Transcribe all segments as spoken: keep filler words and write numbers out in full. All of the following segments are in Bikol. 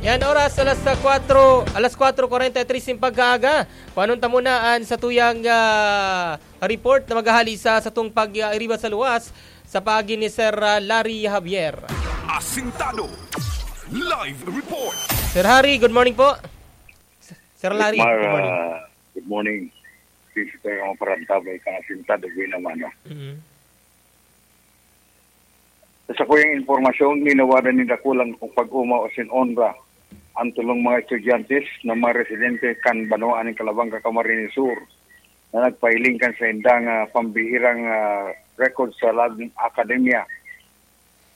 Yan, oras alas sa kwatro, alas kwatro kwarenta y tres nin pagkaaga. Panon ta muna an satuyang, ah, report na maghahali sa satong pag-iriba sa luwas sa paagi ni Sir, ah, Larry Javier. Asintado. Live report. Sir Harry, good morning po. Sir Larry, Mar, good morning. Ah, good morning. Sisi tayo ang parantabay kang Asintado, Guinamano. Mhm. Sa sakuyang impormasyon, ginawa na ni dakulang kung pag-umaw asin onra ang tulong mga estudyante na mga residente kan banwaan nin Calabanga, Camarines Sur, na nagpahiling kan saindang, ah, pambihirang, ah, record sa lagong akademya.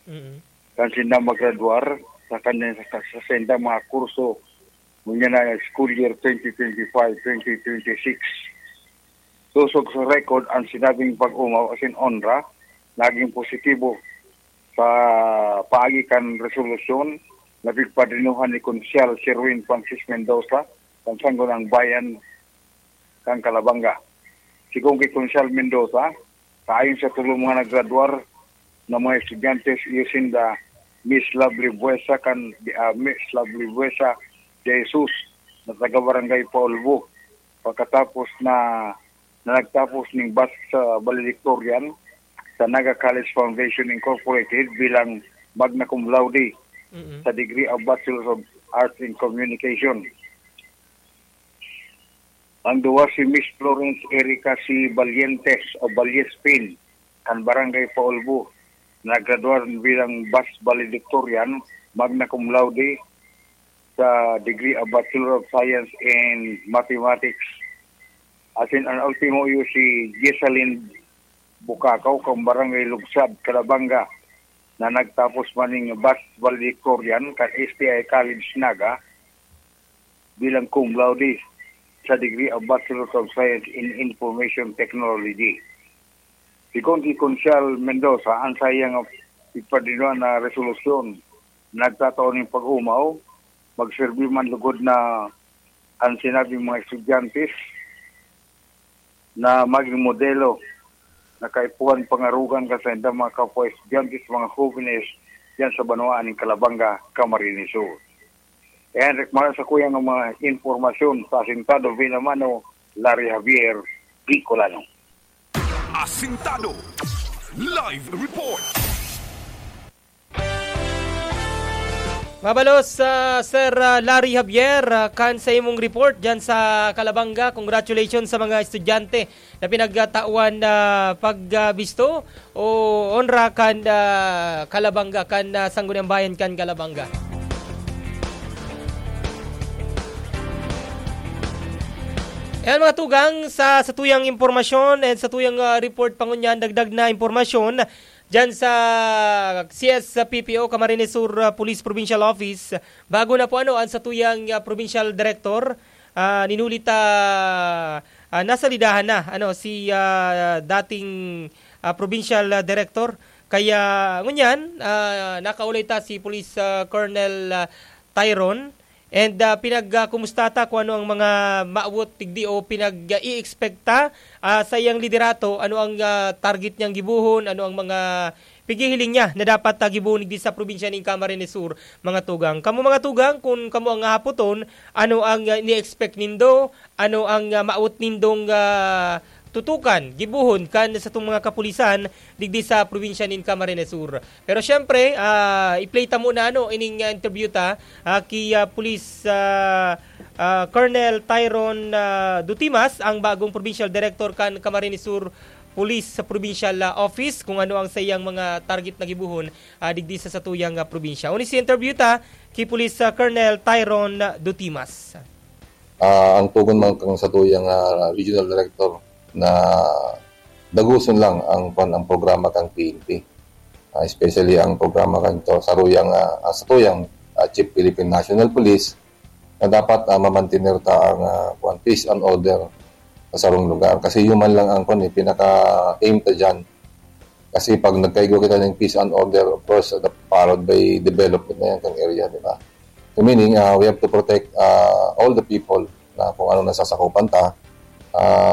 Mm. Kan sinda magradwar sa kanya, sa, sa saindang mga kurso, ngunyan na school year twenty twenty-five, twenty twenty-six. Sosog sa record, ang sinabing pag-umaw asin onra naging positibo sa paagi kan resolusyon na pigpadinuhan ni Konsyal Sherwin Francis Mendoza kan Sangguniang Bayan kan Calabanga. Sigon ki Konsyal Mendoza, kaayon sa tulo mga nagradwar na mga estudyante, iyo sinda Miss Lovely Buesa kan, ah, Miss Lovely Buesa de Jesus na taga Barangay Paulbo, pagkatapos na, na nagtapos ning batch sa valedictorian sa Naga College Foundation Incorporated bilang magna cum laude Mm-mm. sa degree of Bachelor of Arts in Communication. Ang duwa si Miss Florence Erica C. Valientes o Valiespin, kan Barangay Paulbo, nagradwar bilang batch valedictorian, magna cum laude, sa degree of Bachelor of Science in Mathematics. Asin an ultimo iyo si Jessalyn Bukakaw, kan Barangay Lugsad, Calabanga, na nagtapos man ning batch valedictorian kan S T I College Naga bilang cum laude sa degree of Bachelor of Science in Information Technology. Sigon ki Konsyal Mendoza, ang saiyang ipadinuan na resolusyon nagtatao nin pag-umaw, magserbi man lugod na an sinabing mga estudyante na magin modelo na kaipuhan pangarogan kan saindang mga kapwa estudyante, mga hobenes diyan sa banwaan nin Calabanga, Camarines Sur. Yan, Rick Mara, sa kuyang mga impormasyon sa Asintado, Binamano, Larry Javier, Bicolano. Asintado. Live report. Mabalos, ah, Sir, ah, Larry Javier, ah, kan sa imong report dyan sa Calabanga. Congratulations sa mga estudyante na pinagtatawan na pagbisto o onra kan, ah, Calabanga, kan, ah, Sangguniang Bayan kan Calabanga. Ayan, mga tugang, sa, sa tuyang impormasyon and sa tuyang, ah, report pangunyan, dagdag na impormasyon, diyan sa C S P P O, Camarines Sur, ah, Police Provincial Office, bago na po ano ang satuyang, ah, provincial director, ah, ninuli ta, ah, nasalidahan na ano si, ah, dating, ah, provincial, ah, director. Kaya ngunyan, ah, nakaulay ta si Police, ah, Colonel, ah, Tyron. And, ah, pinag, ah, kumusta ta kung ano ang mga maawot digdi o pinag, ah, i-expect ta, ah, sa iyang liderato, ano ang, ah, target niyang gibohon, ano ang mga pighihiling niya na dapat, ah, gibohon digdi sa probinsya nin Camarines Sur, mga tugang. Kamo, mga tugang, kung kamo ang hahapoton, ano ang, ah, ini-expect nindo, ano ang, ah, maawot nindong, ah, tutukan, gibohon kan satong mga kapulisan digdi sa probinsya nin Camarines Sur. Pero siyempre, ah, i-play ta muna, ano, ining, ah, interview ta, ah, ki, ah, Police, ah, ah, Colonel Tyron, ah, Dutimas, ang bagong provincial director kan Camarines Sur Police sa Provincial, ah, Office, kung ano ang saiyang mga target na gibohon, ah, digdi sa satuyang, ah, probinsya. Uni si interview ta ki Police, ah, Colonel Tyron Dutimas. Ah, ang tugon man kan satuyang, ah, regional director na dagoson lang ang, kwan, ang programa kan P N P. Ah, especially ang programa kan to, saruyang, ah, ah, satuyang, ah, Chief Philippine National Police na dapat, ah, mamantener ta ang, ah, kwan, peace and order sa sarong lugar. Kasi yun man lang ang, kwan, eh, pinaka-aim ta dyan. Kasi pag nagkaigwa kita ng peace and order, of course, uh, followed by development na yan kang area, di ba? So meaning, uh, we have to protect, uh, all the people na kung ano nasasakupan ta. Uh,